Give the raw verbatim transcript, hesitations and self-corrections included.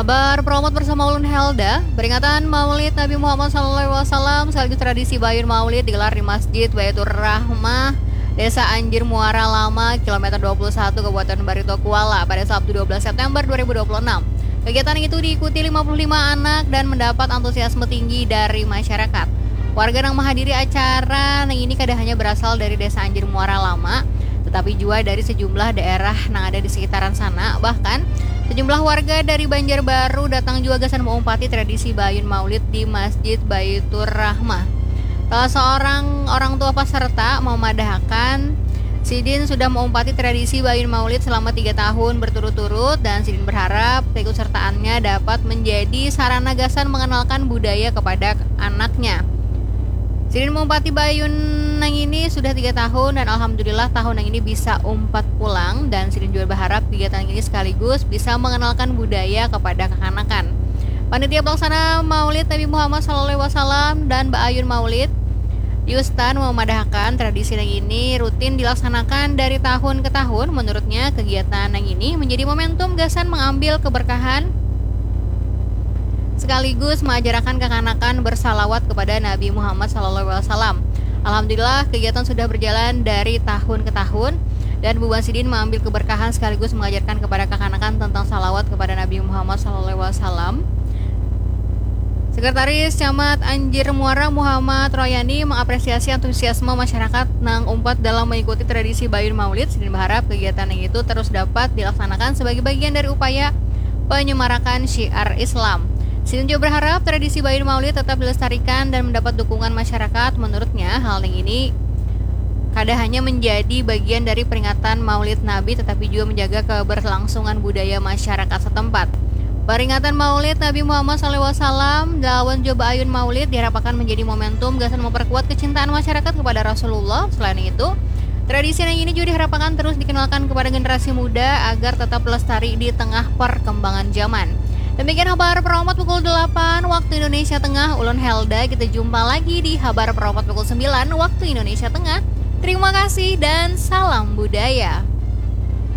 Berpromot bersama ulun Helda, peringatan Maulid Nabi Muhammad sallallahu alaihi wasallam sekaligus tradisi Bayun Maulid digelar di Masjid Baitur Rahmah, Desa Anjir Muara Lama, kilometer dua puluh satu, Kabupaten Barito Kuala, pada Sabtu dua belas September dua ribu dua puluh enam. Kegiatan itu diikuti lima puluh lima anak dan mendapat antusiasme tinggi dari masyarakat. Warga nang menghadiri acara nang ini kada hanya berasal dari Desa Anjir Muara Lama, tetapi juga dari sejumlah daerah nang ada di sekitaran sana. Bahkan, sejumlah warga dari Banjarbaru datang juga gasan maumpati tradisi Bayun Maulid di Masjid Baitur Rahmah. Salah seorang orang tua peserta memadahakan, sidin sudah maumpati tradisi Bayun Maulid selama tiga tahun berturut-turut dan sidin berharap keikutsertaannya dapat menjadi sarana gasan mengenalkan budaya kepada anaknya. Sidin maumpati Bayun nang ini sudah tiga tahun dan alhamdulillah tahun nang ini bisa umpat pulang, dan sidin juga berharap kegiatan ini sekaligus bisa mengenalkan budaya kepada kekanakan. Panitia pelaksana Maulid Nabi Muhammad sallallahu alaihi wasallam dan Bayun Maulid, Yustan, memadahakan tradisi nang ini rutin dilaksanakan dari tahun ke tahun. Menurutnya, kegiatan nang ini menjadi momentum gasan mengambil keberkahan sekaligus mengajarakan kekanakan bersalawat kepada Nabi Muhammad sallallahu alaihi wasallam. Alhamdulillah, kegiatan sudah berjalan dari tahun ke tahun dan bubuhan sidin mengambil keberkahan sekaligus mengajarkan kepada kekanakan tentang salawat kepada Nabi Muhammad sallallahu alaihi wasallam. Sekretaris Camat Anjir Muara, Muhammad Royani, mengapresiasi antusiasme masyarakat nang umpat dalam mengikuti tradisi Bayun Maulid. Sidin berharap kegiatan yang itu terus dapat dilaksanakan sebagai bagian dari upaya penyemarakan syiar Islam. Sidin juga berharap tradisi Bayun Maulid tetap dilestarikan dan mendapat dukungan masyarakat. Menurutnya, hal yang ini kada hanya menjadi bagian dari peringatan Maulid Nabi, tetapi juga menjaga keberlangsungan budaya masyarakat setempat. Peringatan Maulid Nabi Muhammad sallallahu alaihi wasallam lawan jua Bayun Maulid diharapkan menjadi momentum gasan memperkuat kecintaan masyarakat kepada Rasulullah. Selain itu, tradisi yang ini juga diharapkan terus dikenalkan kepada generasi muda agar tetap lestari di tengah perkembangan zaman. Demikian Habar Peromot pukul delapan waktu Indonesia Tengah. Ulun Helda, kita jumpa lagi di Habar Peromot pukul sembilan waktu Indonesia Tengah. Terima kasih dan salam budaya.